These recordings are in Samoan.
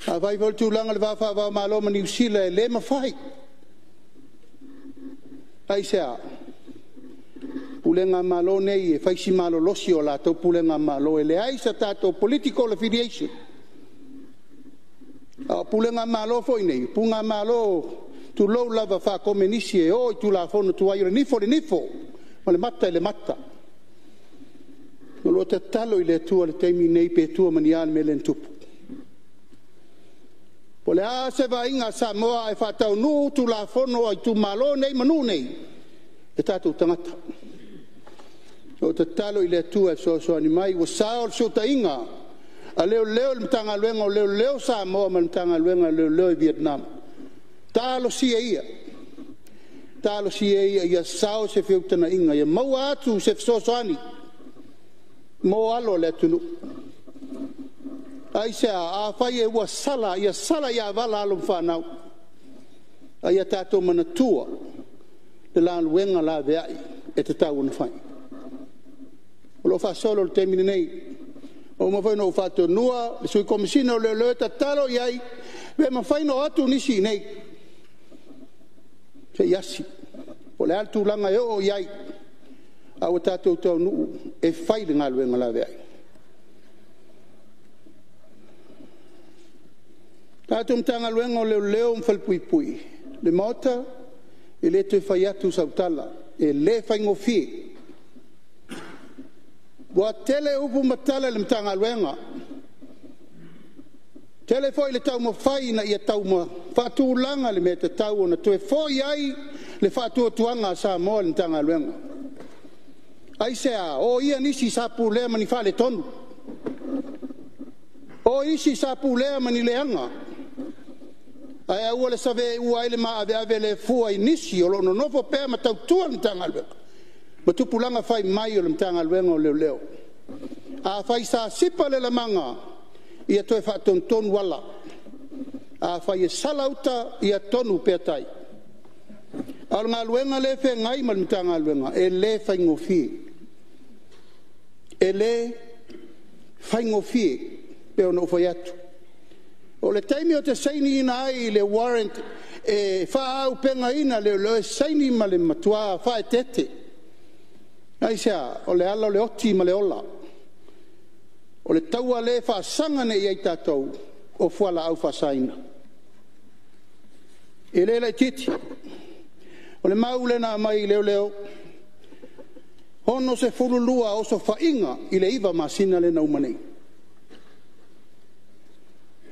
Afai foi o le tulaga i le va faava-o-Malo ma Niu Sila, e le mafai. Aisea? O pulega a Malo nei e fai si malolosi o latou pulega a Malo, e leai se tatou political affiliation. A o pulega a Malo foi nei, o pulega Malo tulou lava faakomenisi e o i tulafono tuai, o le nifo i le nifo ma le mata i le mata. O lo o tatalo i le Atua i le taimi lenei pe tua ma ni a le mea lea na tupu. Po o le a se vaaiga a Samoa ae faataunuu Tulafono a itumalo nei ma nuu nei, o tatou tagata. O lo o tatalo i le Atua e fesoasoani mai, ua sao le fesootaiga a Leoleo i le Matagaluega o Leoleo a Samoa ma le Matagaluega o Leoleo i Vietnam, talosia ia, talosia ia ia sao se feutagaiga ia maua atu se fesoasoani mo alo o le atunuu. Aisea? Afai ua sala, ia sala ia vala alo ma fanau, a ia tatou manatua le galuega laveai e tatau ona fai. O lo o faasolo i le taimi lenei. Ua uma foi ona ou faatonuina le Sui Komesina o Leoleo e tatalo i ai pe mafai ona o atu nisi i inei se i asi po o le a le tulaga e oo i ai, a ua tatou taunuu e fai le galuega laveai. Le tatou Matagaluega o Leoleo ma Falepuipui, le Maota, e le toe fai atu sau tala, e le faigofie. Ua tele upu ma tala i le Matagaluega, tele foi le taumafai ina ia faatulaga le mea e tatau ona toe foi ai le faatuatuaga a Samoa i le Matagaluega. Aisea? Oia nisi sa pulea ma ni faaletonu, o isi sa pulea ma ni leaga, ae aua le saveua ai le maaveave le fua i nisi o lo o nonofo pea ma tautua le Matagaluega ma tupulaga fai mai o le Matagaluega o Leoleo. Afai sa sipa le lamaga, ia toe faatonutonu ala. Afai e sala uta, ia tonu pea tai. A o le galuega lea e feagai ma le Matagaluega, e le faigofie. E le faigofie e pei ona ou fai atu. O le taimi ou te sainiina ai le warrant e faaauupegaina leoleo, e saini ma le matua faaeteete. Aisea? O le ala o le oti ma le ola. O le taua lea e faasaga nei i ai tatou, o fualaau faasaina. E le laitiiti. O le mau lea na aumai i leoleo, e 62 osofaiga i le 9 masina lea na uma nei.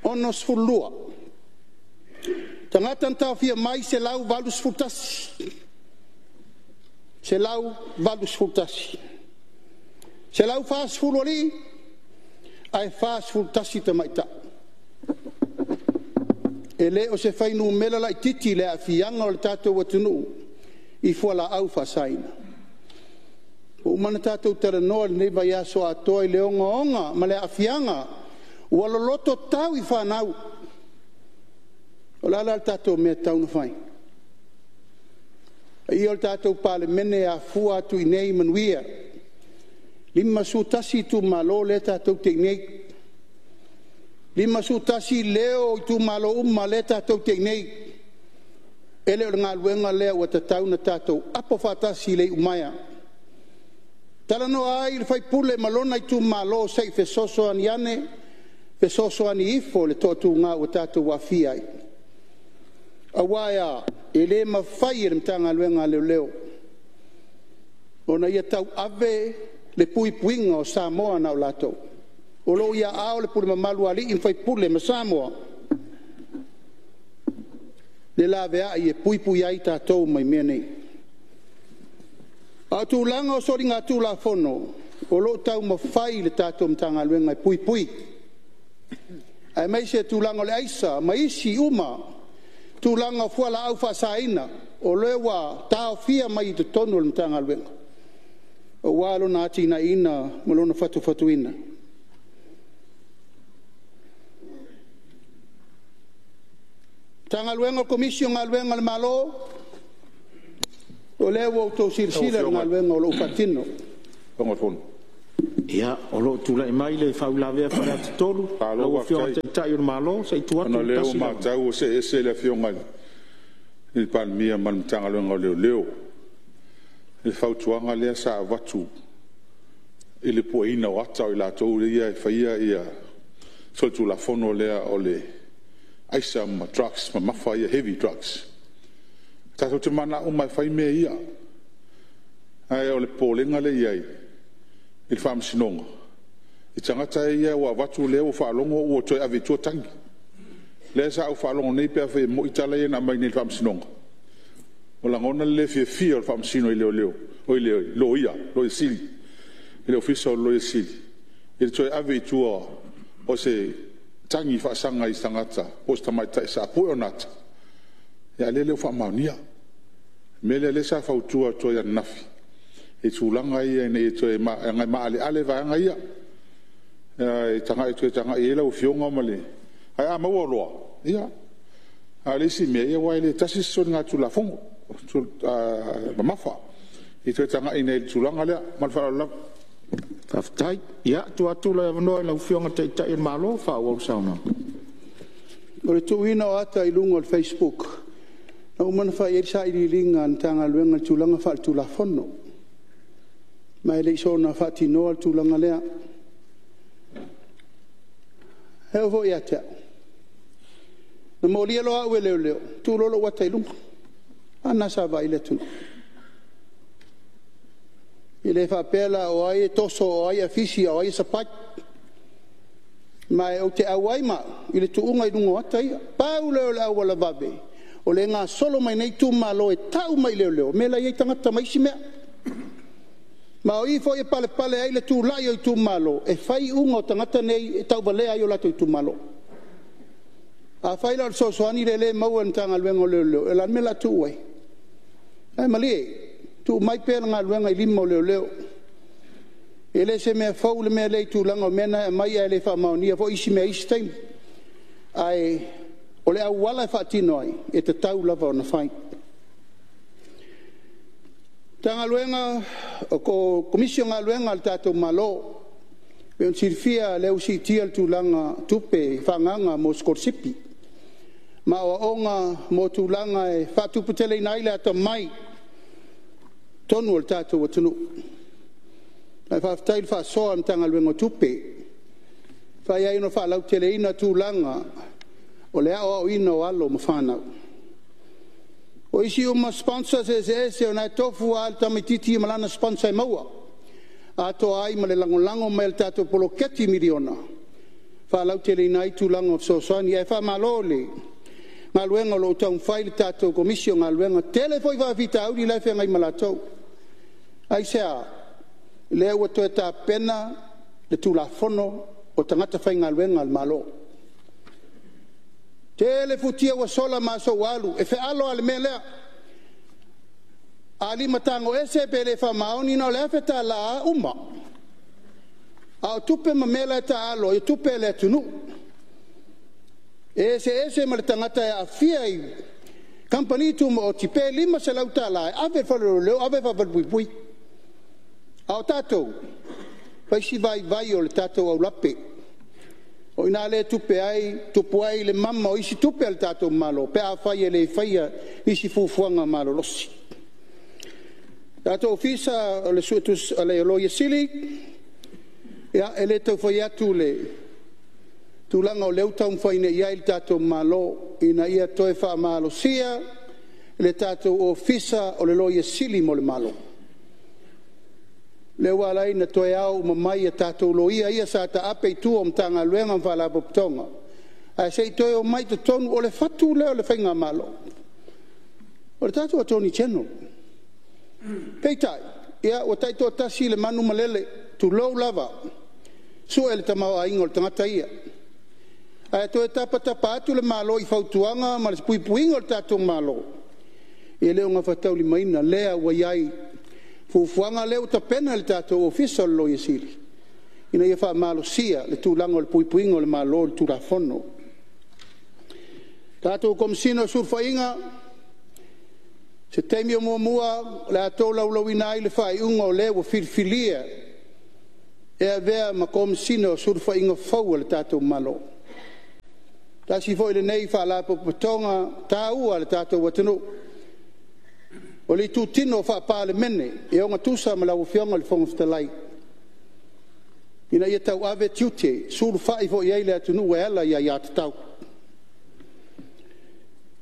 62. Tagata na taofia mai, 181. 181. 140 alii ae 41 tamaitai. E le o se fuainumera laitiiti le aafiaga o le tatou atunuu i fualaau faasaina. Ua uma ona tatou talanoa i lenei vaiaso atoa i le ogaoga ma le aafiaga ua loloto tau i fanau. O le a la le tatou mea e tatau ona fai? Le paia o le tatou Palemene e afua atu i inei manuia, 51 itumalo lea tatou te i inei, 51 leo o itumalo uma lea tatou te i inei. E le o le galuega lea ua tatau ona tatou apo faatasi i le iumaea, talanoa ai le sui usufono ma lona itumalo se i fesoasoani ane, fesoasoani ifo i le toatuga ua tatou aafia ai. Aua e a? E le mafai e le Matagaluega a Leoleo ona ia tauave le puipuiga o Samoa na o latou. O lo o i aao o le pule mamalu a alii ma faipule ma Samoa le laveai e puipui ai tatou mai mea nei. A o tulaga o soligatulafono, o lo o taumafai le tatou Matagaluega e puipui, aemaise tulaga o le aisa ma isi uma tulaga o fualaau faasaina, o lea ua taofia mai i totonu o le Matagaluega, aua lona atinaeina ma lona fatufatuina. Matagaluega o Komisi o Galuega a le Malo, o lea ua outou silasila i le galuega o lo o faatino. Ia, o lo o tulai mai le faauilavea a Faleata 3, lau Afioga i le Taitai o le Malo, se i tuu atu Ona o le lea ua tasi le avanoa. matau ua see ese le Afioga i le Palemia ma le Matagaluega o Leoleo i le fautuaga lea sa avatu i le pueina o ata o i latou ia e faia le solitulafono lea o le aisa ma drugs mamafa ia heavy drugs. Tatou te mananao uma lava e fai mea ia, ae o le popolega lea e i ai i le Faamasinoga, i tagata ia ua avatu lea ua faalogo ua toe ave i tua tagi. Lea sa ou faalogo nei pe afai e moni tala ia na aumai nei i le Faamasinoga, ua lagona le le fiafia o le Faamasino i leoleo, oi le Loia Sili, i le Ofisa o le Loia Sili i le toe ave i tua o se tagi faasaga i se tagata po o se tamaitai sa pue ona ata, a o lea e le o faamaonia. O le mea lea o lea sa fautua atu ai ananafi i tulaga ia ina ia toe… leaga e maaleale vaega ia, e toe tagai i ai lau Afioga ma le… Ae a maua loa, ia, a o le isi mea, aua e le tasi se soligatulafono mamafa. Ia toe tagai ane i le tulaga lea. Ma le faaaloalo lava. Faafetai. Ia, tuu atu le avanoa i lau Afioga i le Taitai o le Malo e faaauau le saunoaga. O le tuuina o ata i luga o le facebook, na uma ona fai i ai le sailiiliga a le Matagaluega i tulaga faaletulafono, ma e le i soona faatinoa le tulaga lea. E oo foi ia te au, na molia loa au e leoleo, tuu loa lou ata i luga. A lena sa vaai ai le atunuu. E le faapea la o ai e toso o ai e afisi a o ai e sapai. Ma ou te auai ma au i le tuuga i luga o ata ia. Pau lea o le auala vave o lea e gasolo mai nei itumalo e tau mai i leoleo mea la e i ai tagata ma isi mea. Ma o i foi e palepale ai le tulai o itumalo e fai iuga o tagata nei e tauvalea ai o latou itumalo. Afai la o le fesoasoani lea e maua e le Matagaluega o Leoleo, o le a le mea o le a tuu ai? Ae malie, tuu mai pea le galuega i lima o leoleo. E le o se mea fou le mea lea i tulaga o mea na e aumai ae le faamaonia foi isi mea i isi taimi. Ae o le auala e faatino ai, e tatau lava ona fai. Matagaluega, Komisi o Galuega a le tatou Malo. E pei ona silafia o lea ua siitia le tulaga o tupe faaagaaga mo sikolasipi ma aoaoga mo tulaga e faatuputeleina ai le atamai i totonu o le tatou atunuu. Ae faafetai i le faasoa a le Matagaluega o Tupe, e mafai ai ona faalauteleina tulaga o le aoaoina o alo ma fanau. O isi uma sponsors eseese o lena e tofu lava le tamaitiiti ma lana sponsor e maua, atoa ai ma le lagolago mai a le tatou poloketi miliona e faalauteleina ai tulaga o fesoasoani. Ae faamalo i le galuega o lo o taumafai le tatou Komisi o Galuega. E tele foi faafitauli la e feagai ma latou. Aisea? Lea ua toe tapena le Tulafono o Tagata Faigaluega a le Malo. Tele futia ua sola ma aso ua alu, e fealo lava i le mea lea, a limatago ese pe le faamaoni, na o le $1,000 lava uma. A o tupe ma mea la e taaalo ai, o tupe a le atunuu. E eseese ma le tagata e aafia i kamupani tumaoti pe $500 e ave i le fale o leoleo ave i le falepuipui. A o tatou, fai si vaivai o le tatou aulape. O i ina lea e tupu ai le mama o isi tupe a le tatou Malo pe afai e le faia isi fuafuaga malolosi. Le tatou Ofisa o le Loia Sili, ia, e le tau fai atu le tulaga o lea ua taumafai nei i ai le tatou Malo ina ia toe faamalosia le tatou Ofisa o le Loia Sili mo le Malo. Lea ua ala ai ona toe ao uma mai a tatou loia ia sa taape i tua o Matagaluega ma Faalapotopotoga, ae se i toe omai i totonu. O le fatu lea o le faigamalo, o le tatou Attorney General. Peitai, ia ua taitoatasi le manu ma lele, tulou lava, sue le tamaoaiga o le tagata ia. Ae toe tapatapa atu le Malo i fautuaga ma le puipuiga o le tatou Malo, e le o gafataulimaina lea ua i ai fuafuaga lea ua tapena e le tatou Ofisa o le Loia Sili ina ia faamalosia le tulaga o le puipuiga o le Malo i le Tulafono. Tatou Komesina o Sulufaiga, o se taimi o muamua o le a tolaulauina ai le faaiuga o le ua filifilia e avea ma Komesina o Sulufaiga fou a le tatou Malo. Tasi foi lenei Faalapotopotoga taua a le tatou atunuu, o le itutino faa-Palemene e ogatusa ma lau Afioga i le Fofoga Fetalai, ina ia tauave tiute, sulufai foi i ai le atunuu e ala i aiatatau.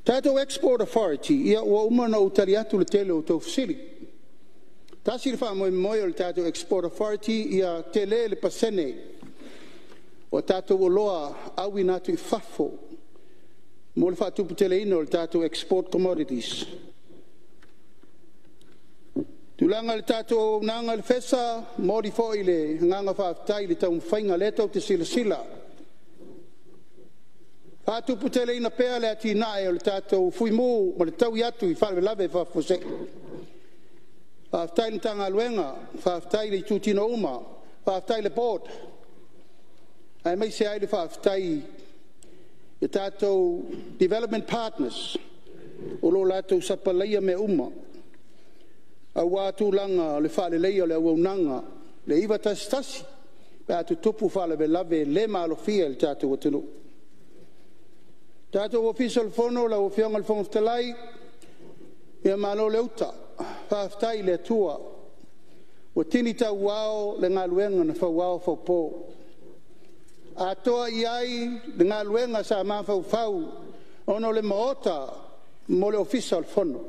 Tatou Export Authority, ia ua uma ona ou tali atu i le tele o a outou fesili. Tasi le faamoemoe o le tatou Export Authority ia tele le pasene o tatou oloa auina atu i fafo mo le faatuputeleina o le tatou export commodities. Tulaga i le tatou auaunaga i le FESA, e momoli foi le agaga faafetai i le taumafaiga o lea tou te silasila, faatuputeleina pea le atinae o le tatou Fuimu ma le taui atu i faalavelave faafuasei. Faafetai i le Matagaluega, faafetai i itutino uma, faafetai i le Board, aemaise ai le faafetai i tatou development partners o lo o latou sapalaia mea uma aua tulaga o le faaleleia o le auaunaga, le 911 pe a tutupu faalavelave le maalofia i le tatou atunuu. Le tatou Ofisa o le Fono lau Afioga i le Fofoga Fetalai, ia malo le uta, faafetai i le Atua ua tini tauao le galuega na fauao faupo, atoa i ai le galuega sa mafaufau ona o le Maota mo le Ofisa o le Fono.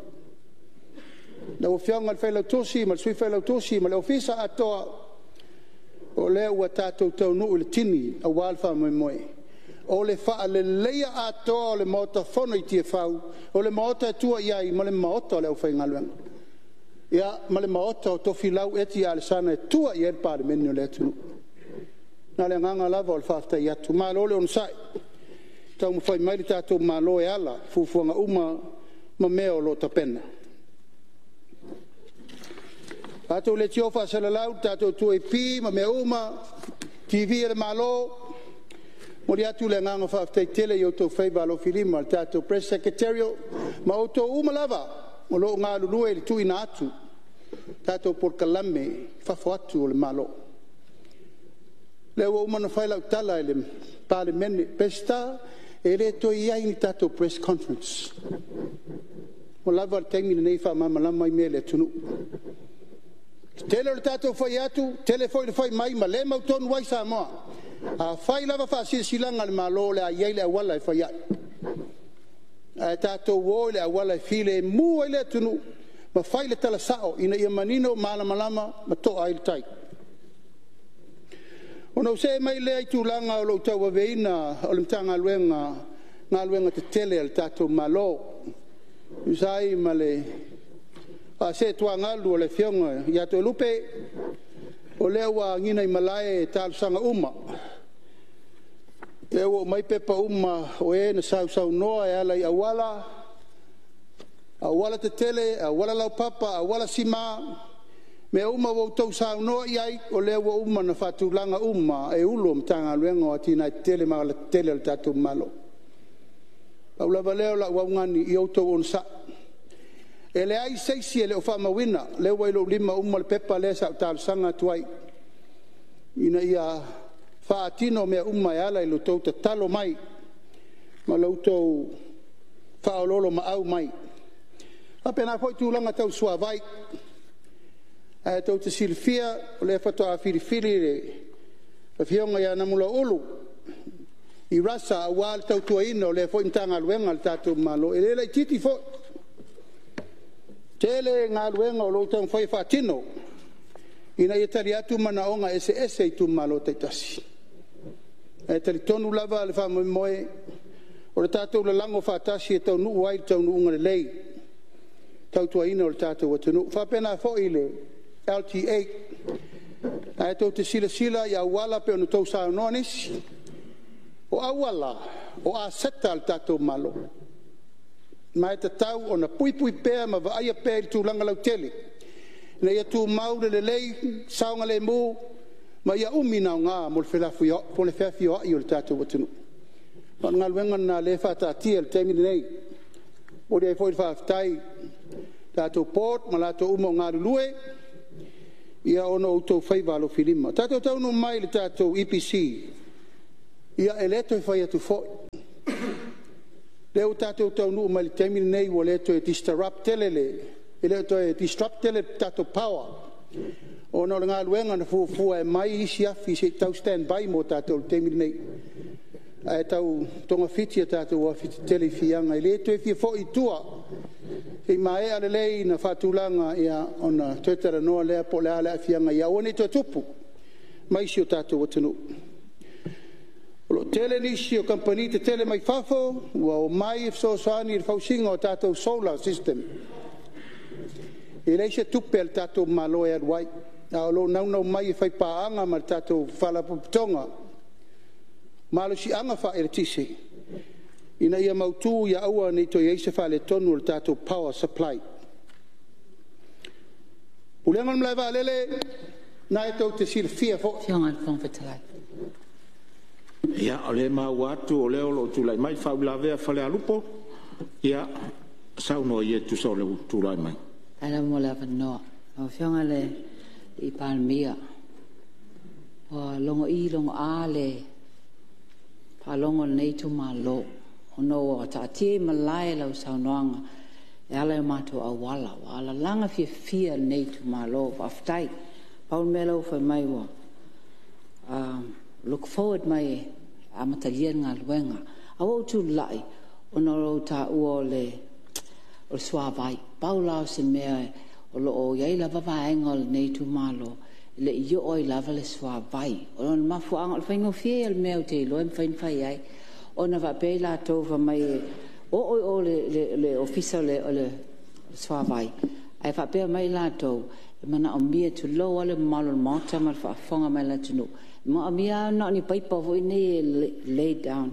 Lau Afioga i le Failautusi ma le Sui Failautusi ma le Ofisa atoa, o lea ua tatou taunuu i le tini aua le faamoemoe, o le faaleleia atoa o le Maota Fono i Tiafau, o le Maota e tua i ai ma le Maota o le aufaigaluega, ia ma le Maota o Tofilau Eti Alesana e tua i ai le Palemene o le atunuu. Na o le agaga lava o le faafetai atu, malo le onosai, taumafai mai le tatou Malo e ala i fuafuaga uma ma mea o lo o tapena. Tatou leitio faasalalau le tatou 2AP ma mea uma, TV a le Malo, momoli atu le agaga faafetai tele i outou faiva alofilima i le tatou Press Secretariat ma outou uma lava o lo o galulue i le tuuina atu o tatou polokalame i fafo atu o le Malo. O lea ua uma ona fai lau tala i le Palemene, Peseta, e le toe i ai ni tatou Press Conference, ua lava le taimi lenei e faamalamalama ai mea i le atunuu. E tele o le tatou fai atu, tele foi le fai mai ma le mautonu ai Samoa. A fai lava faasilasilaga a le Malo, o le a i ai le auala e fai ai. Ae tatou o i le auala e filemu ai le atunuu ma fai le tala sao ina ia manino, malamalama ma toa ai le tai. Ona ou see mai lea i tulaga o lou tauaveina o le Matagaluega o Galuega Tetele a le tatou Malo e tusa ai ma le faaseetuagalu a le Afioga ia Toelupe, o lea ua agiga i malae talosaga uma, o lea ua aumai pepa uma o e na sausaunoa e ala i auala, aualatetele, aualalaupapa, auala sima, mea uma ua outou saunoa i ai, o lea ua uma ona faatulaga uma e Ofisa Sili o Pulega o Matagaluega o Atinae Tetele ma Alatetele a le tatou Malo. Pau lava lea o lau augani, ia outou onosai. E leai se isi e le o faamauina, o lea ua i lou lima uma le pepa lea sa ou talosaga atu ai ina ia faatino mea uma e ala i le tou tatalo mai ma lo outou faaoloolomaau mai. E faapena foi tulaga tau suavai. Ae tou te silafia o lea faatoa filifili le Afioga ia Namulauulu i Rasa aua le tautuaina o lea foi Matagaluega a le tatou Malo, e le laitiiti foi. Tele galuega o lo o taumafai e faatino ina ia tali atu manaoga eseese i itumalo taitasi. Ae talitonu lava le faamoemoe, o le tatou lalago faatasi e taunuu ai i le taunuuga lelei le tautuaina o le tatou atunuu. E faapena foi i le LTA. O lena e tou te silasila i auala pei ona outou saunoa nisi, o auala, o aseta a le tatou Malo, ma e tatau ona puipui pea ma vaaia pea i le tulaga lautele ina ia tumau le lelei, saogalemu ma ia umi ona aoga mo le feafioai o le tatou atunuu. Ma o le galuega lena o lea e faataatia i le taimi lenei. E momoli ai foi le faafetai i le tatou Board ma latou uma o galulue. ia ona o outou faiva alofilima. Tatou taunuu mai i le tatou EPC, ia e le toe fai atu foi, lea ua tatou taunuu mai i le taimi lenei ua le toe disrupt tele le tatou power ona o le galuega na fuafua e aumai isi afi se i tau standby mo tatou i le taimi lenei, ae tau togafiti a tatou afi tetele i Fiaga. E le toe fia foi i tua, se i maea lelei ona faatulaga ona toe talanoa lea po o le a le aafiaga ia aua ne i toe tupu mai si o tatou atunuu. O lo o tele nisi o kamupani tetele mai fafo ua omai e fesoasoani i le fausiga o tatou solar system. E leai se tupe a le tatou Malo e alu ai, ae o lo o naunau mai e faipaaga ma le tatou Faalapotopotoga Malosiaga Faaeletise, ina ia mautu ia aua ne i toe i ai se faaletonu o le tatou power supply. Pulega o le Malae Vaalele, o lena tou te silafia foi. Lau Afioga i le Fofoga Fetalai… Ia, o lea e maua atu o lea o lo o tulai mai le faauilavea a Falealupo. Ia, saunoa ia e tusa o lou tulai mai. Faafetai lava mo le avanoa. Lau Afioga i le Palemia, ua logo'i logo'a le faalogo a lenei itumalo ona ua taatia i malae lau saunoaga e ala i o matou auala. Ua alalaga fiafia lenei itumalo, faafetai. Pau le mea lea ua fai mai ua look forward mai e amatalia le galuega. Ae ua ou tulai ona o lou taua o le suavai. Pau la o se mea o lo o i ai lava vaega o lenei itumalo e le i oo ai lava le suavai. O le mafuaaga, o le faigofie ia o le mea ou te iloa e mafai ona fai ai, ona faapea i latou fai mai e oo i o i le Ofisa o le Suavai, ae faapea mai latou, e manaomia, tulou lava le mamalu o le Maota ma le faafofoga mai a le atunuu, e manaomia lava na o ni paipa foi nei e lay down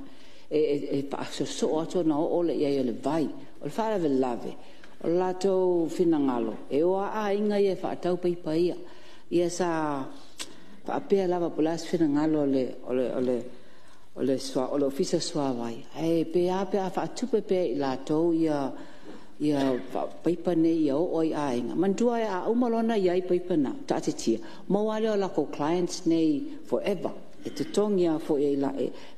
e faasoosoo atu ona oo lea i ai o le vai. O le faalavelave, o le latou finagalo, e o lava aiga ia e faatau paipa ia. Ia sa faapea lava po o le a se finagalo o le Ofisa o le Suavai, ae pe a pe a faatupe pea e latou paipa nei ia oo i aiga. Manatua a uma loa ona i ai paipa na taatitia, ona maua lava lea o latou clients nei forever. E totogi lava foi e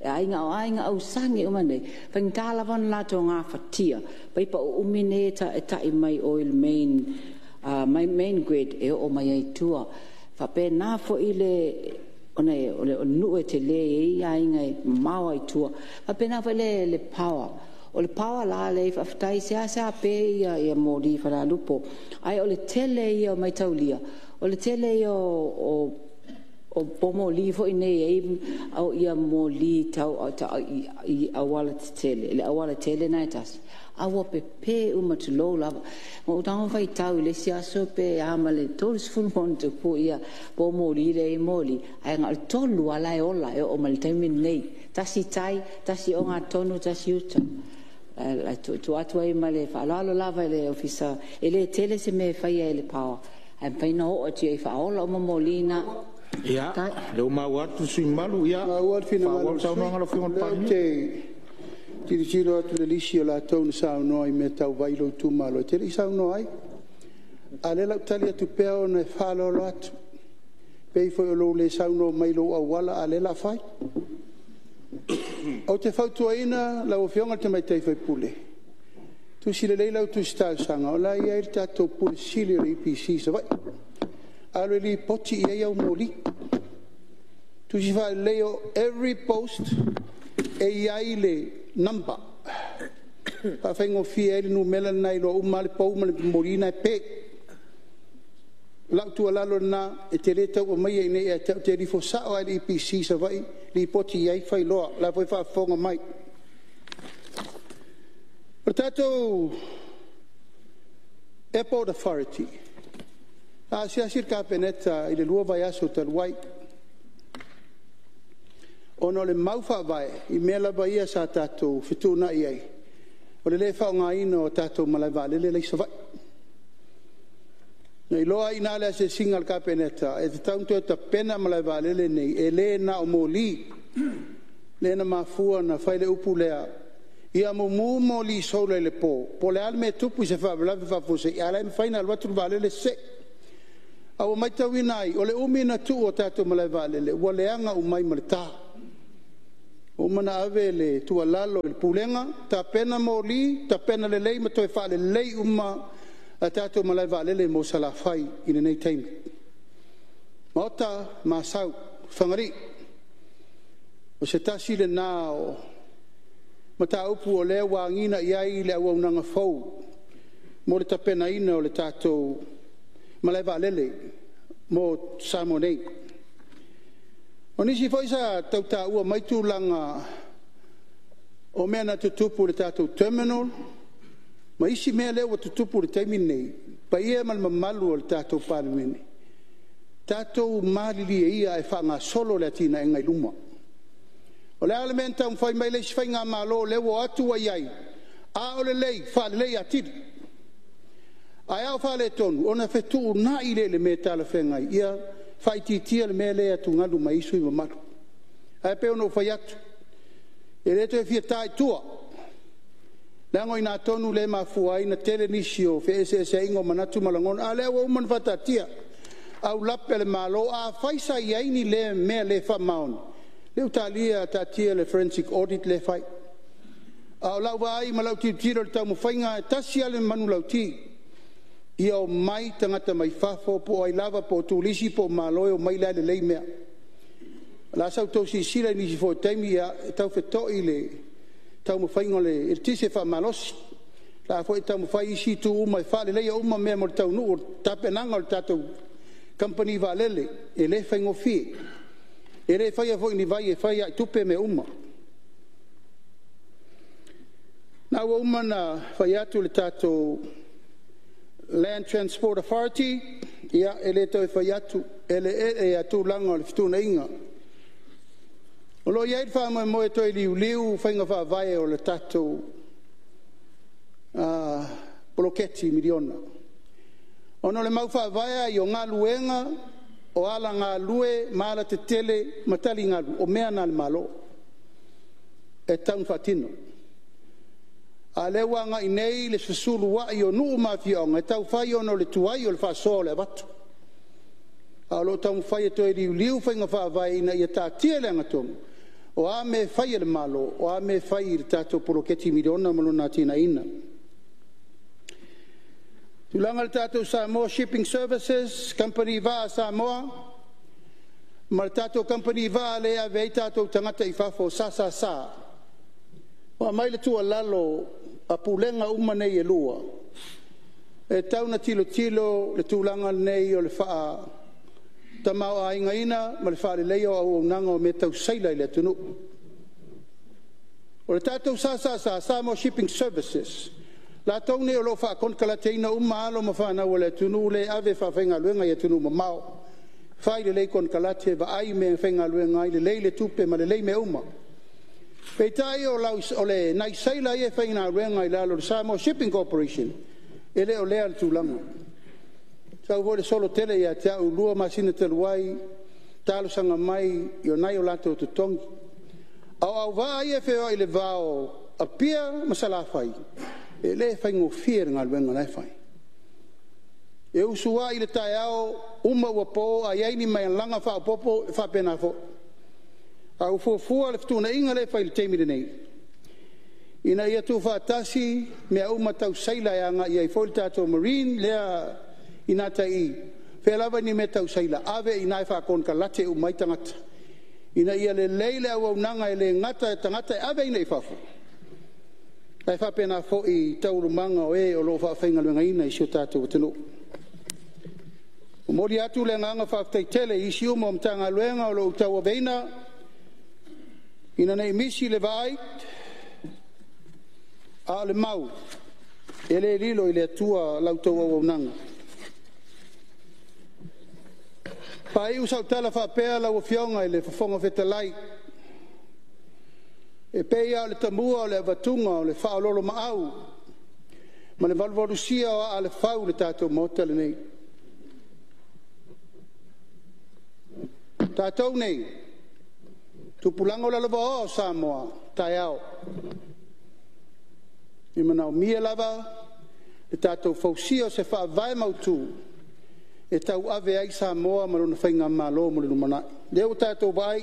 aiga, o aiga ausani uma nei, e faigata lava ona latou gafatia paipa uumi nei e tai mai o i le main grid e oo mai ai i tua. E faapena foi ona o le nuu e tele e i ai aiga e mamao lava i tua. E faapena foi le power. O le power la lea faafetai e seasea pe moli i Falealupo, ae o le tele ia o mataulia, o le tele ia o moli foi nei e i ai moli tau i aualatetele, le aualatele lena e tasi, a ua pepe uma, tulou lava. Na ou tago faitau i le isi aso pe a ma le 30+ poumoli lea e i ai moli, ae na o le tolu lava la e ola e oo mai i le taimi lenei. Tasi i tai, tasi i ogatotonu, tasi i uta. E tuu atu ai ma le faaaloalo lava i le Ofisa, e le tele se mea e faia e le power, ae mafai ona oo atu i ai e faaola uma moli na. Ia, o lea ua maua atu le sui usufono mamalu, ia Maua le finagalo faaauau o le le sui saunoaga a lau usufono. Afioga i O le lea ou Palemia. te tilotilo atu i le lisi o latou na saunoa i mea tau vai i lou itumalo, e te le i saunoa ai. A o lea o le a ou tali atu pea ona e faaaloalo atu. E pei foi o lou le saunoa mai i lou auala a o lea o le a fai. Ou te fautuaina lau Afioga i le Tamaitai sui usufono, tusi lelei lau tusi talosaga o la e i ai le tatou Pule Sili o le EPC i Savaii, alu e lipoti i ai au moli. Tusi faalelei, every post e i ai le number, e faafaigofie ai le numera lena e iloa uma lava le pou ma le moli na e pe. O lau tuualalo lena, e te le tau aumaia i inei ia te au, e te alu ifo sao lava i le EPC i Savaii lipoti i ai, fai loa. O la e foi e faafofoga mai. O le tatou Airport Authority, na asiasi le Kapeneta i le 2 vaiaso talu ai, ona o le mau faavae i mea lava ia sa tatou fetuunai ai, o le le faaaogaina o tatou malaevaalele la e i Savaii. Na iloa ai i ina i le asiasiga a le Kapeneta, e tatau ona toe tapena malaevaalele nei, e le na o moli. Lea na mafua ona fai le upu lea, ia mumu moli solar i le po, po o le a le mea e tupu i se faalavelave faafuasei, a o la e mafai ona alu atu le vaalele see. A ua matauina ai, o le umi ona tuu o tatou malaevaalele ua leaga uma ai ma le ta. Ua uma ona ave le tuualalo i le Pulega, tapena moli, tapena lelei ma toe faalelei uma a tatou malaevaalele mo Salafai i lenei taimi. Maota, Asau, Fagalii, o se tasi lena o mataupu o lea ua agiga i ai le auaunaga fou mo le tapenaina o le tatou malaevaalele mo Samoa nei. O nisi foi sa tau taua mai tulaga o mea na tutupu i le tatou terminal ma isi mea lea ua tutupu i le taimi lenei, le paia ma le mamalu o le tatou Palemene, tatou malilie ia ae faagasolo le atinaeina i luma. O le a le mea na taumafai mai ai le isi faigamalo lea ua o atu ua i ai, a o lelei, faalelei atili. Ae a o faaletonu, ona fetuunai lea i le mea e talafeagai, ia faaitiitia le mea lea e atugalu mai ai sui usufono mamalu. Ae pei ona ou fai atu, e le toe fia ta i tua, leaga o i ina tonu lea e mafua ai ona tele nisi o feeseeseaiga o manatu ma lagona, a o lea ua uma ona faataatia aulape a le Malo. Afai sa i ai ni mea le faamaoni, lea ua talia taatia le forensic audit lea e fai. A o lau vaai ma lau tilotilo i le taumafaiga, e tasi lava le manulauti, ia omai tagata mai fafo po o ai lava po o turisi po o malo e omai o la e lelei mea. O le a sa outou silasila i nisi foi o taimi, ia, e tau feto'i le taumafaiga o le eletise faamalosi, o la e foi e taumafai isi itu uma e faaleleia uma mea mo le taunuu o le tapenaga o le tatou kamupani vaalele. E le faigofie, e le faia foi e ni vai e fai lava i tupe mea uma. O lena ua uma ona fai atu le tatou Land Transport Authority, ia e le toe fai atu, o eleele ia tulaga o le fetuunaiga. O lo o i ai le faamoemoe e toe liuliu faiga faavae o le tatou poloketi miliona, ona o le mau faavae lava ia o galuega o aualagalue ma alatetele ma taligalu, o mea na a le Malo e tatau ona faatino. A o lea ua agai nei le fesuluai o nuu ma afioaga e tau fai ona o le tuai o le faasoa o le avatu. A o lo o taumafai e toe liuliu faiga faavae ina ia taatia i le amiotonu, o a mea e fai e le Malo, o a mea e fai i le tatou poloketi miliona ma lona atinaeina. Tulaga i le tatou Samoa Shipping Services, Kamupani Vaa a Samoa ma le tatou Kamupani Vaa lea e ave ai tatou tagata i fafo o le SSS, ua aumai le tuualalo a Pulega uma nei e lua, e tatau ona tilotilo le tulaga lenei o le faatamaoaigaina ma le faaleleia o auaunaga o mea tau seila i le atunuu. O le tatou SSS Samoa Shipping Services, latou nei o lo o faakonekarateina uma alo ma fanau a le atunuu lea e ave e faafaigaluega i atunuu mamao, fai lelei konekarate, vaai mea e faigaluega ai, lelei le tupe ma lelei mea uma. Peitai o nai seila ia e faigaluega i lalo o le Samoa Shipping Corporation, e le o lea le tulaga. Sau foi le solo tele ia te au i le 2 masina talu ai, talosaga mai i nai o latou totogi. A o auvaa ia e feoai i le va o Apia ma Salafai, e le faigofie le galuega la e fai. E usuai i le taeao, uma ua po, a i ai ni malaga faaopoopo, e faapena foi. Ae ua fuafua le fetuunaiga lea e fai i le taimi lenei, ina ia tuufaatasi mea uma tau seila e agai ai foi le tatou marine lea i gatai i i, fea lava ni mea tau seila, ave i ina e faakonekarate uma ai tagata, ina ia lelei le auaunaga e le gata i tagata e aveina i fafo, ae faapena foi i taualumaga o e o lo o faafaigaluegaina i si o tatou atunuu. E momoli atu le agaga faafetai tele i isi uma o Matagaluega o lo o ou tauaveina, ina ne i misi le vaai, a o le mau, e le lilo i le Atua la outou auaunaga. E faaiu sau tala faapea lau Afioga i le Fofoga Fetalai, e pei lava o le tamua o le avatuga o le faaoloolomaau ma le valuvalusia o aa o le fau i le tatou Maota lenei. O tatou nei, tupulaga lalovaoa o Samoa, taeao. E manaomia lava le tatou fausia o se faavae mautu e tauave ai Samoa ma lona faigamalo mo le lumanai. Lea ua tatou vaai,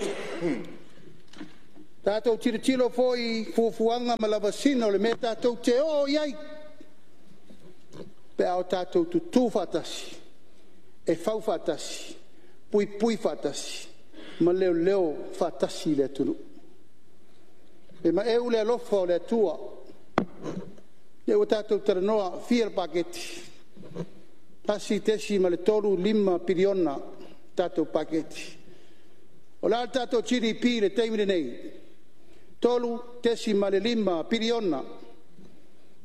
tatou tilotilo foi i fuafuaga ma lavasiga o le mea tatou te oo i ai pe a o tatou tutu faatasi, e fau faatasi, puipui faatasi ma leoleo faatasi le atunuu. E maeu le alofa o le Atua, lea ua tatou talanoa, fia le paketi? $1.35 piliona le tatou paketi. O le a le tatou GDP i le taimi lenei? $3.5 piliona.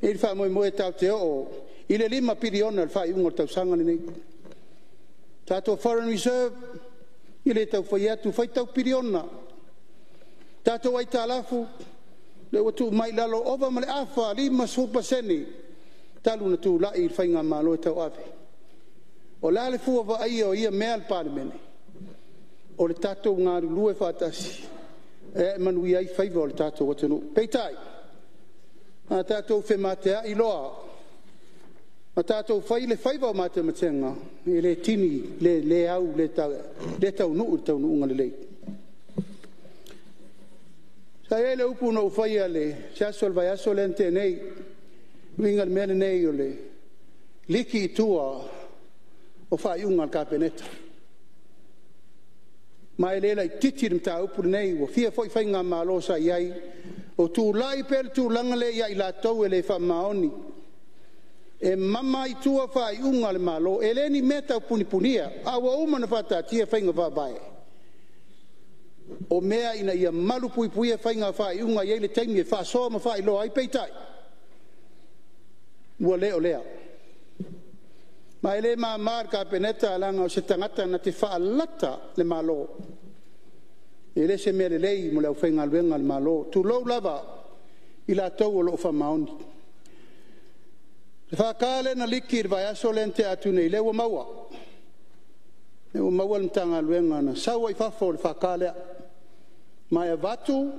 E i ai le faamoemoe tatou te oo i le $5 piliona i le faaiuga o le tausaga lenei. Tatou foreign reserve, e le tau fai atu, faitau piliona. Tatou aitalafu, lea ua tuu mai i lalo, ova ma le afa, 50% talu ona tulai le faigamalo e tauave. O le a le fua vaaia o ia mea a le Palemene? O le tatou galulue faatasi e manuia ai faiva o le tatou atunuu. Peitai, a tatou femateai loa ma tatou fai le faiva o matematega, e le tini, le au, le taunuu i le taunuuga lelei. Sa i ai le upu na ou faia i se aso o le vaiaso lea na tea nei, e uiga i le mea lenei o le liki i tua o faaiuga a le Kapeneta. Ma e le laitiiti le mataupu lenei, ua fia foi faigamalo sa i ai o tulai pea le tulaga lea ia i latou e le faamaoni, e mama i tua faaiuga a le Malo. E le ni mea taupunipunia, a ua uma ona faataatia faiga faavae, o mea ina ia malupuipuia faiga faaiuga e i ai le taimi e faasoa ma faailoa ai, peitai, ua le o lea. Ma e le mama i le Kapeneta leaga o se tagata na te faalata le Malo. E le o se mea lelei mo le aufaigaluega a le Malo, tulou lava i latou o lo o faamaoni. O le FK lea na liki i le vaiaso lea na tea atu nei, lea ua maua, lea ua maua le Matagaluega na sau ai i fafo le FK lea, ma e avatu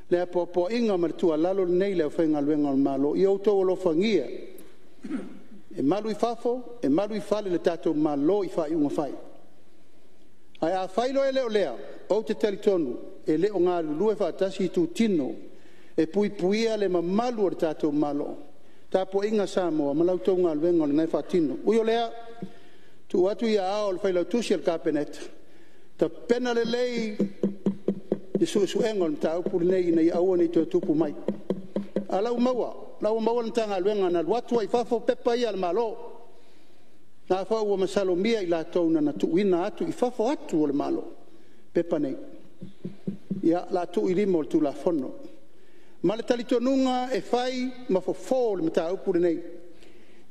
le apoapoaiga ma le tuualalo lenei i le aufaigaluega a le Malo, ia outou alofagia e malu i fafo e malu i fale le tatou Malo i faaiuga fai. Ae afai loa e le o lea, ou te talitonu e le o galulue faatasi itutino e puipuia le mamalu o le tatou Malo, tapuaiga a Samoa ma la outou galuega o lena e faatino. Ui o lea, tuu atu i aao o le Failautusi o le Kapeneta, tapena lelei le suesuega o le mataupu lenei ina ia aua ne i toe tupu mai. A o la ua maua, o la ua maua le Matagaluega na alu atu ai i fafo pepa ia a le Malo. O lena foi ua masalomia i latou na tuuina atu i fafo atu o le Malo pepa nei. Ia, o le a tuu i lima o le Tulafono. Ma le talitonuga e fai ma fofo o le mataupu lenei,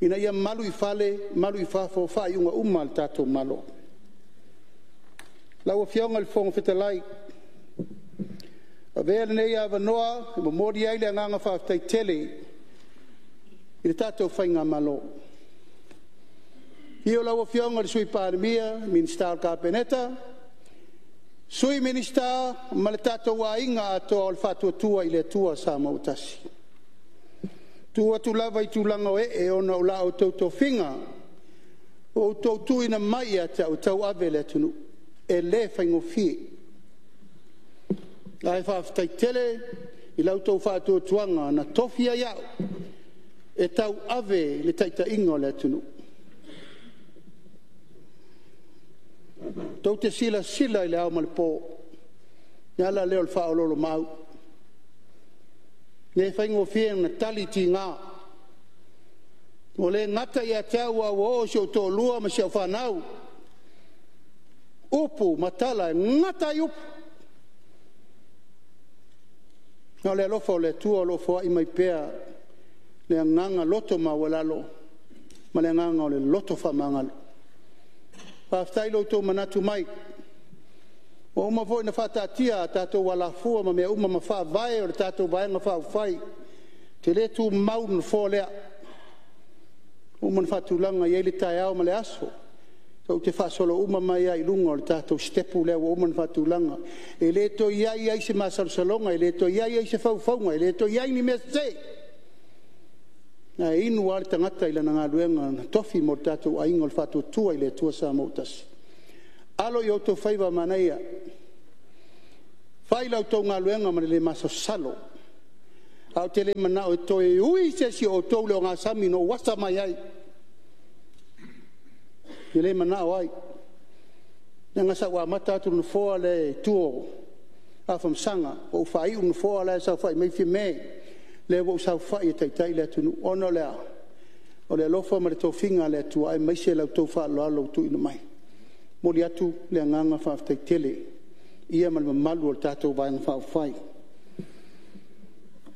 ina ia malu i fale malu i fafo faaiuga uma a le tatou Malo. Lau Afioga i le Fofoga Fetalai, avea lenei avanoa e momoli ai le agaga faafetai tele i le tatou faigamalo. Afio lau Afioga i le Sui Palemia, Minisita o le Kapeneta, Sui Minisita ma le tatou aiga atoa o le Faatuatua i le Atua Samoa ua Tasi. E tu atu lava i tulaga o ee ona o la outou tofiga ua outou tuuina mai ia te au e tauave le atunuu. E le faigofie. Ae faafetai tele i la outou faatuatuaga na tofi ai au e tauave le taitaiga o le atunuu. Tou te silasila i le ao ma le po, o le ala lea o le faaoloolomaau. E le faigofie ona tali tiga. Ua le gata ia te au ae ua oo i si ou toalua ma si au fanau upu ma tala e gata ai upu. A o le alofa o le Atua o lo o foai mai pea le agaga loto maualalo ma le agaga o le loto faamagalo. Faafetai i lo outou manatu mai, ua uma foi ona faataatia a tatou alafua ma mea uma ma faavae o le tatou Vaega Faaupufai. Ou te le tumau i le nofoa lea, ua uma ona faatulaga e i ai le taeao ma le aso tou te faasolo uma mai lava i luga o le tatou sitepu lea ua uma ona faatulaga. E le toe i ai ai se masalosaloga, e le toe i ai ai se faufauga, e le toe i ai ni mea sese. Ae inu lava le tagata i lana galuega na tofi mo le tatou aiga o le Faatuatua i le Atua Samoa ua Tasi. Alo i outou faiva manaia, fai la outou galuega ma le le masalosalo, ae ou te le manao e toe ui se isi o outou i le ogasami na ou asa mai ai. Ou te le manao ai, leaga sa ou amata atu i le nofoa lea i tua o Afamasaga, ou faaiu i le nofoa la e saofai mai Fiame, lea ua ou saofai e taitai le atunuu. Ona o le a? O le alofa ma le tofiga a le Atua aemaise la outou faaaloalo ua tuuina mai. E momoli atu le agaga faafetai tele i le paia ma le mamalu o le tatou Vaega Faaupufai.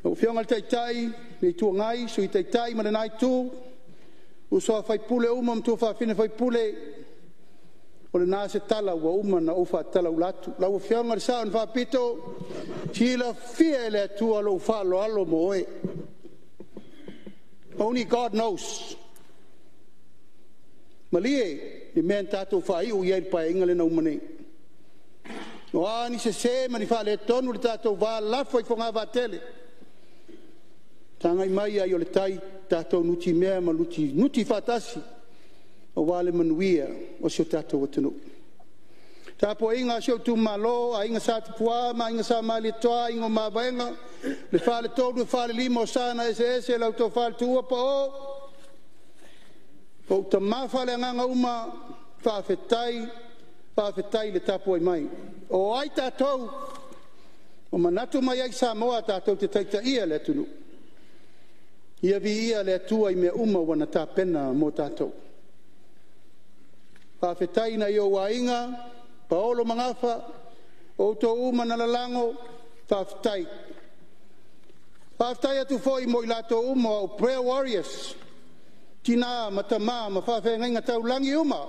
Lau Afioga i le Taitai o le Itu Agai, Sui Taitai ma lena Itu, uso a sui usufono uma ma tuafafine sui usufono, o lena se tala ua uma ona ou faatalaula atu. Lau Afioga i le Sao na Faapito, silafia e le Atua lou faaaloalo mo oe. Only God knows. Malie le mea na tatou faaiu i ai i le Paeaiga lea na uma nei. O a ni sese ma ni faaletonu i le tatou va, lafo i fogavaa tele, tagai mai ai o le tai, tatou nutimea ma nutinuti faatasi aua le manuia o si o tatou atunuu. Le tapuaiga a si ou itumalo, Aiga Sa Tupua ma Aiga Sa Malietoa, Aiga o Mavaega, le Faletolu e Falelima o Sa na Eseese, lau Tofa i le Tuua Pao, ou tama faaleagaga uma, faafetai, faafetai le tapuai mai. O ai tatou? Ua manatu mai ai Samoa tatou te taitaia le atunuu. Ia viia le Atua i mea uma ua na tapena mo tatou. Faafetai i nai ou aiga, paolo ma gafa, o outou uma na lalago, faafetai. Faafetai atu foi mo i latou uma o prayer warriors, tina ma tama ma faafeagaiga taulagi uma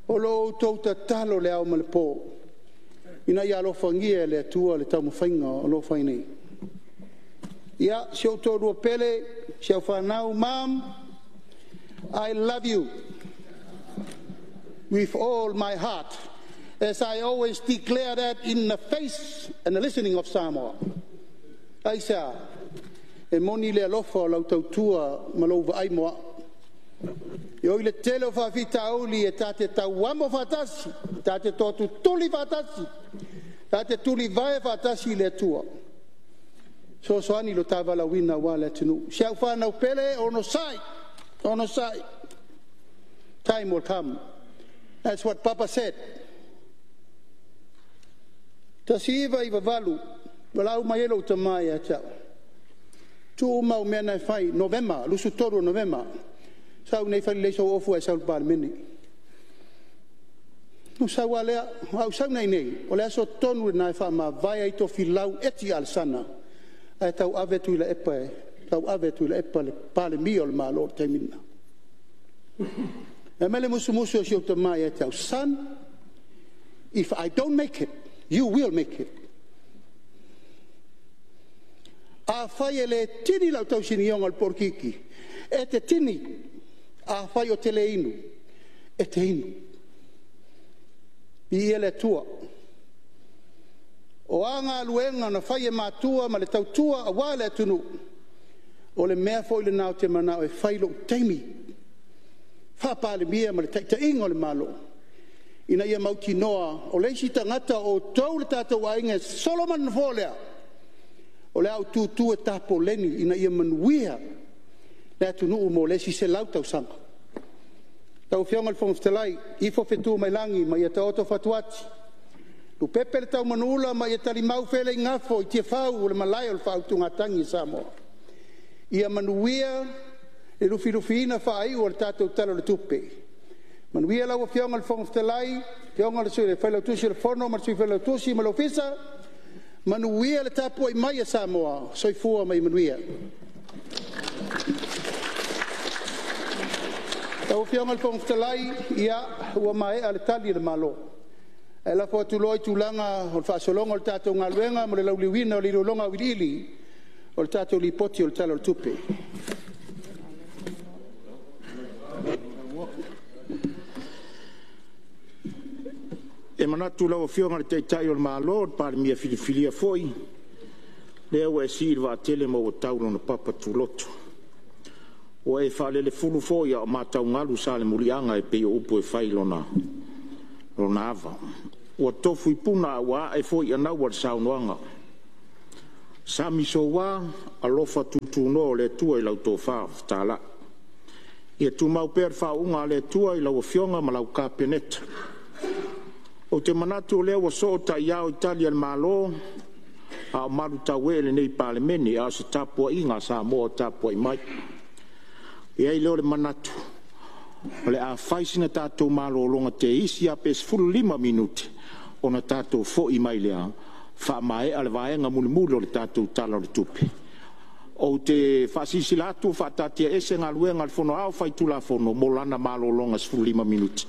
o lo o outou tatalo i le ao ma le po ina ia alofagia e le Atua le taumafaiga o lo o fai nei. Ia, si ou toalua pele, si au fanau, mom, I love you with all my heart as I always declare that in the face and the listening of Samoa. Aisea? E moni le alofa o lau tautua ma lou vaai mo au. E ui i le tele o faafitauli e ta te tauamo faatasi, ta te toatutuli faatasi, ta te tulivae faatasi i le Atua, fesoasoani i lo ta valaauina aua le atunuu. Si au fanau pele, onosai, onosai, time will come. That's what Papa said. 1998, valaau mai ai lou tama ia te au, tuu uma au mea na e fai, Novema, 23 o Novema, sau iinei fai lelei sou ofu ae sau i le Palemene. Ona ou sau lava lea, a ou sau nei, o le aso tonu lena e faamavae ai Tofilau Eti Alesana ae tauave Tuilaepa e tauave e Tuilaepa le Palemia o le Malo i le taimi lena. Fai mai le musumusu a si ou tama ia te au, son, if I don't make it, you will make it. Afai e le tini lau tausinioga o le polokiki, e te tini. Afai ou te le inu, e te inu. Viia le Atua. O a galuega na fai e matua ma le tautua aua le atunuu, o le mea foi lena ou te manao e fai i lou taimi faa-Palemia ma le taitaiga o le Malo, ina ia mautinoa o le isi tagata o outou le tatou aiga e sosolo mai le nofoa lea, o le a ou tutu e tapoleni ina ia manuia le atunuu mo le isi 100 tausaga. Lau Afioga i le Fofoga Fetalai, ifo fetu mai lagi ma ia taoto fatuati, lupepe le taumanuula ma ia talimau feeleigafo i Tiafau o le malae o le faautugatagi a Samoa. Ia manuia le lufilufiina faaiu o le tatou Tala o le Tupe. Manuia lau Afioga i le Fofoga Fetalai, afioga i le Failautusi o le Fono ma le Sui Failautusi ma le Ofisa, manuia le tapuai mai a Samoa. Soifua ma ia manuia. Lau Afioga i le Fofoga Fetalai, ia ua maea le Tali a le Malo, ae lafo atu loa i tulaga o le faasologa o le tatou galuega mo le lauliliuina o le iloiloga auiliili o le tatou Lipoti o le Tala o le Tupe. E manatu lau Afioga i le Taitai o le Malo, o le Palemia filifilia foi, lea ua e sii le vaatele ma ua tau i lona papa tuloto. Ua e faalelefulu foi a o mataugalu Salemuliaga e pei o upu e fai i lona ava. Ua tofu i puna a ua ae foi i anaua le saunoaga. Sami soua, alofa tutunoa o le Atua i lau tofa fetalai. Ia tumau pea le faauuga a le Atua i lau Afioga ma lau Kapeneta. Ou te manatu o lea ua soo ta'iao i Tali a le Malo a o malutauee lenei Palemene, a o se tapuaiga a Samoa o tapuai mai. E i ai lea o le manatu o le a fai sina tatou malologa teisi lava pe 15 minute ona tatou fo'i mai lea faamaea le vaega mulimuli o le tatou Tala o le Tupe. Ou te faasilasila atu ua faataatiaese Galuega a le Fono Aoao Faitulafono mo lana malologa e 15 minute.